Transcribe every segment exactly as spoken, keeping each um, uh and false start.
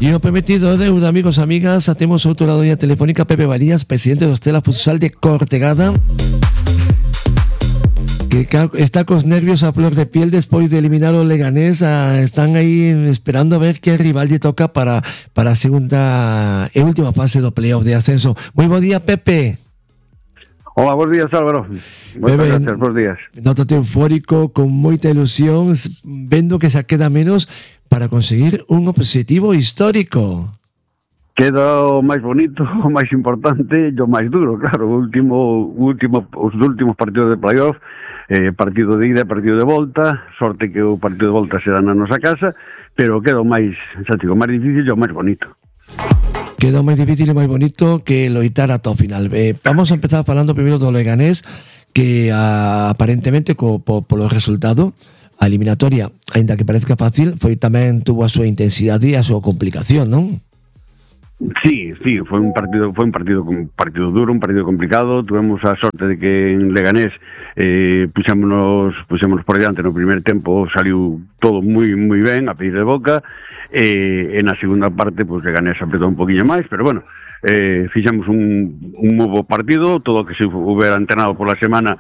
E o prometido deuda, amigos e amigas, temos outro lado da telefónica Pepe Varías, presidente do Estela Futsal de Cortegada, que está cos nervios a flor de piel despois de eliminar o Leganés. Están aí esperando a ver que rival lle toca para, para a segunda e última fase do playoff de ascenso. Moi bo día, Pepe. Hola, bons días, Álvaro. Moitas gracias, bons días. Nótate eufórico, con moita ilusión, vendo que se queda menos para conseguir un objetivo histórico. Queda o máis bonito, o máis importante e o máis duro, claro. O último, último, os últimos partidos de playoff, eh, partido de ida e partido de volta, sorte que o partido de volta se dá na nosa casa, pero queda o máis, xa digo, o máis difícil e o máis bonito. Queda o máis difícil e máis bonito que loitar ata o final. Eh, vamos a empezar falando primeiro do Leganés, que a, aparentemente co, po, polo resultado a eliminatoria, aínda que parezca fácil, foi tamén tuvo a súa intensidade e a súa complicación, non? Sí, sí, foi un partido foi un partido un partido duro, un partido complicado. Tuvemos a sorte de que en Leganés eh, puxémonos, puxémonos por diante no primer tempo, saliu todo moi moi ben, a pedir de boca, e eh, na segunda parte, pues, Leganés apretou un poquinho máis, pero bueno, eh, fixemos un, un novo partido, todo o que se houbera entrenado por la semana.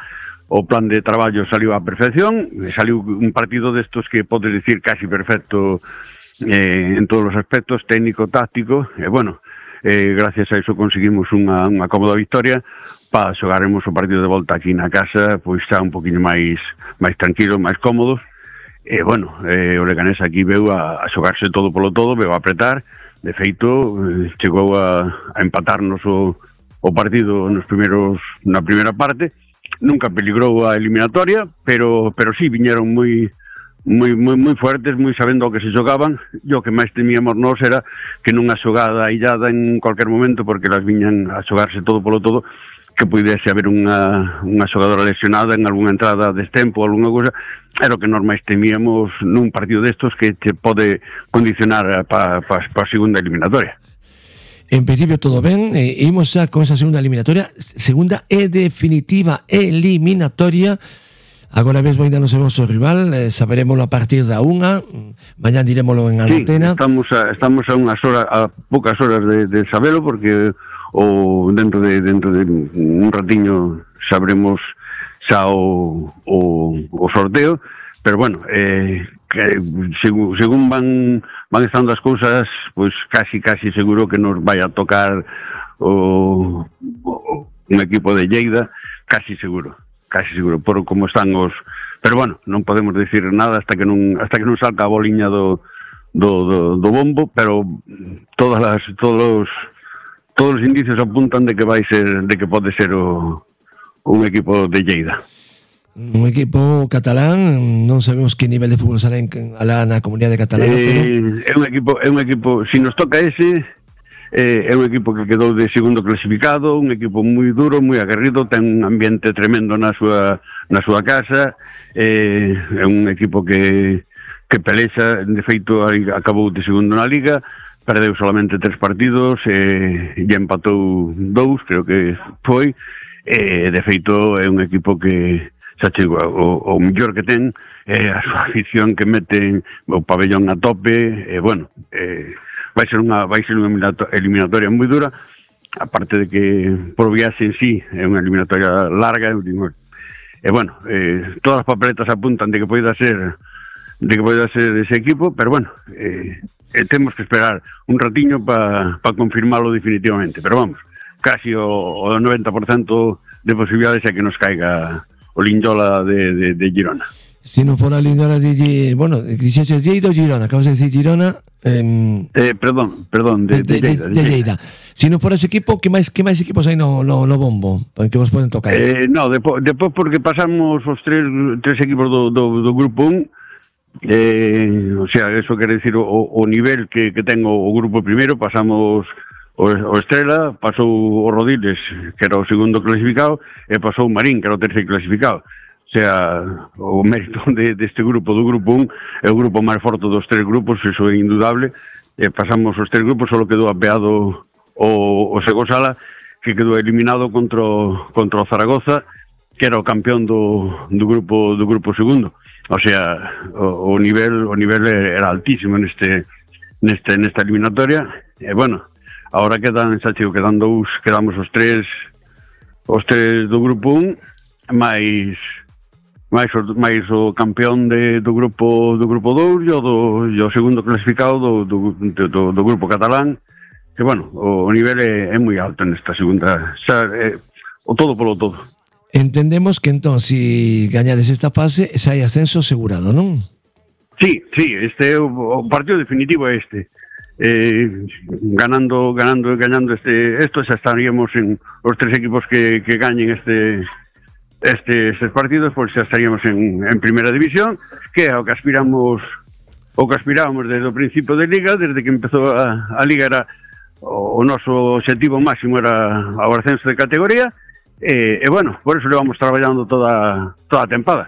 O plan de traballo saliu á perfección, saliu un partido destos que podes dicir casi perfecto eh, en todos os aspectos, técnico, táctico, e bueno, eh, gracias a iso conseguimos unha, unha cómoda victoria para xogaremos o partido de volta aquí na casa, pois xa un poquinho máis máis tranquilo, máis cómodos, e bueno, eh, o Leganés aquí veu a, a xogarse todo polo todo, veu a apretar, de feito, eh, chegou a, a empatarnos o, o partido nos primeros, na primeira parte. Nunca peligrou a eliminatoria, pero pero sí viñeron moi moi moi moi fuertes, moi sabendo o que se xogaban. E o que máis temíamos nós era que nunha xogada illada en cualquier momento, porque las viñan a xogarse todo polo todo, que pudese haber unha unha xogadora lesionada en algunha entrada de destempo ou algunha cousa. Era o que nós máis temíamos nun partido destos que te pode condicionar para pa, pa a segunda eliminatoria. En principio todo ben, eh, imos xa con esa segunda eliminatoria, segunda e definitiva eliminatoria. Agora mesmo ainda non sabemos o rival, eh, saberemoslo a partir da unha, mañán diremoslo en antena. Sí, estamos a, estamos a unhas horas, a poucas horas de, de sabelo, porque o dentro de dentro de un ratiño sabremos xa o, o, o sorteo, pero bueno, eh, que, según, según van van estando as cousas, pois casi casi seguro que nos vai a tocar o, o un equipo de Lleida, casi seguro, casi seguro, por como están os, pero bueno, non podemos decir nada hasta que non hasta que non salga a boliña do do, do, do bombo, pero todas as todos todos os indicios apuntan de que vai ser, de que pode ser o un equipo de Lleida. Un equipo catalán, non sabemos que nivel de fútbol sale en, alá na comunidade catalana, eh, pero... é un equipo, é un equipo, si nos toca ese, eh, é un equipo que quedou de segundo clasificado, un equipo moi duro, moi aguerrido, ten un ambiente tremendo na súa na súa casa, eh, é un equipo que que pelexa, de feito acabou de segundo na Liga, perdeu solamente tres partidos, eh, e empatou dous, creo que foi, eh, de feito é un equipo que xa chego, o, o mellor que ten é a súa afición que mete o pabellón a tope, e bueno, eh, vai ser unha vai ser unha eliminatoria moi dura, aparte de que por viaxe en sí é unha eliminatoria larga, e bueno, eh, todas as papeletas apuntan de que poida ser de que poida ser ese equipo, pero bueno, eh, eh, temos que esperar un ratiño para pa confirmarlo definitivamente, pero vamos, casi o, o noventa por cento de posibilidades é que nos caiga o Lindola de, de, de Girona. Si non fora Lindola de Girona, bueno, dixeses Lleida ou Girona, acabas de decir Girona, eh, eh, perdón, perdón, de, de, de, de, Lleida, de, de Lleida. Si non fora ese equipo, que máis que máis equipos hai no, no, no bombo, que vos poden tocar? Eh, no, depois, depois porque pasamos os tres, tres equipos do, do, do grupo un, eh, o sea, eso quere decir o, o nivel que, que ten o, o grupo primeiro, pasamos o, o Estrela, pasou o Rodiles, que era o segundo clasificado, e pasou o Marín, que era o terceiro clasificado. O sea, o mérito de, deste grupo, do grupo un, é o grupo máis forte dos tres grupos, iso é indudable. E pasamos os tres grupos, só quedou apeado o, o Segosala, que quedou eliminado contra o, contra o Zaragoza, que era o campeón do, do grupo do grupo segundo. o sea, o, o nivel o nivel era altísimo neste neste nesta eliminatoria. E bueno, agora quedan, xa chico, quedan dous, quedamos os tres os tres do grupo un, máis máis o, máis o campeón de, do grupo do grupo dous e o, do, e o segundo clasificado do, do, do, do grupo catalán, que bueno, o, o nivel é, é moi alto nesta segunda, xa, é, o todo polo todo. Entendemos que entón, si gañades esta fase, xa hai ascenso asegurado, non? Sí, sí, este o, o partido definitivo é este. Eh, ganando, ganando, gañando este, esto xa estaríamos en os tres equipos que, que gañen este este estes partidos, pois xa estaríamos en, en primeira división, que é o que aspiramos o que aspirábamos desde o principio de Liga, desde que empezou a, a Liga era o, o noso objetivo máximo era o ascenso de categoría, e, e bueno, por eso levamos traballando toda, toda a tempada.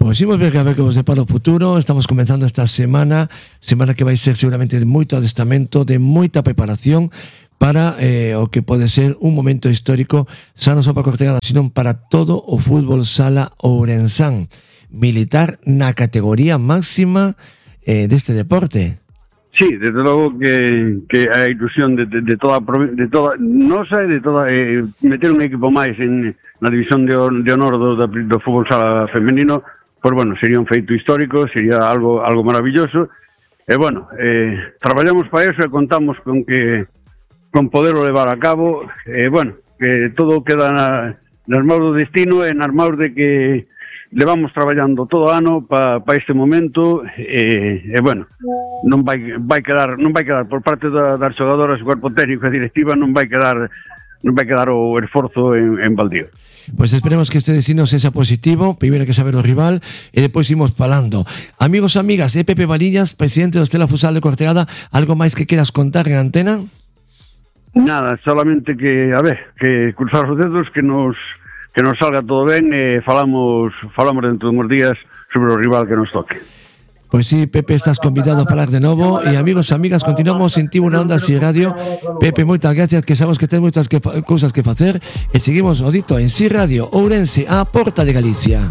Pois imos ver a ver que vos depara o futuro. Estamos comenzando esta semana, semana que vai ser seguramente de moito adestamento, de moita preparación para eh, o que pode ser un momento histórico, xa non só para Cortegada, sino para todo o fútbol sala ourensán, militar na categoría máxima eh, deste deporte. Sí, desde logo que, que a ilusión de, de, de toda de toda nosa e de toda eh, meter un equipo máis en na división de, de honor do, do fútbol sala femenino, pois bueno, sería un feito histórico, sería algo algo maravilloso. E bueno, eh, traballamos para eso e contamos con que con poderlo levar a cabo. E bueno, que todo queda na, nas mãos do destino e nas mãos de que levamos traballando todo o ano para pa este momento. E, e bueno, non vai vai quedar non vai quedar por parte da, das xogadoras, o cuerpo técnico e directiva, non vai quedar non vai quedar o esforzo en, en baldío. Pois esperemos que este destino sexa positivo, primeiro que saber o rival e depois imos falando. Amigos e amigas, é Pepe Valillas, presidente do Estela Futsal de Cortegada. Algo máis que queras contar en antena? Nada, solamente que, a ver, que cruzar os dedos, que nos que nos salga todo ben e falamos falamos dentro de uns días sobre o rival que nos toque. Pois sí, Pepe, estás convidado a falar de novo. E amigos e amigas, continuamos en Tivo na Onda Si Radio. Pepe, moitas gracias, que sabemos que ten moitas que cousas que facer. E seguimos o dito en Si Radio Ourense, a porta de Galicia.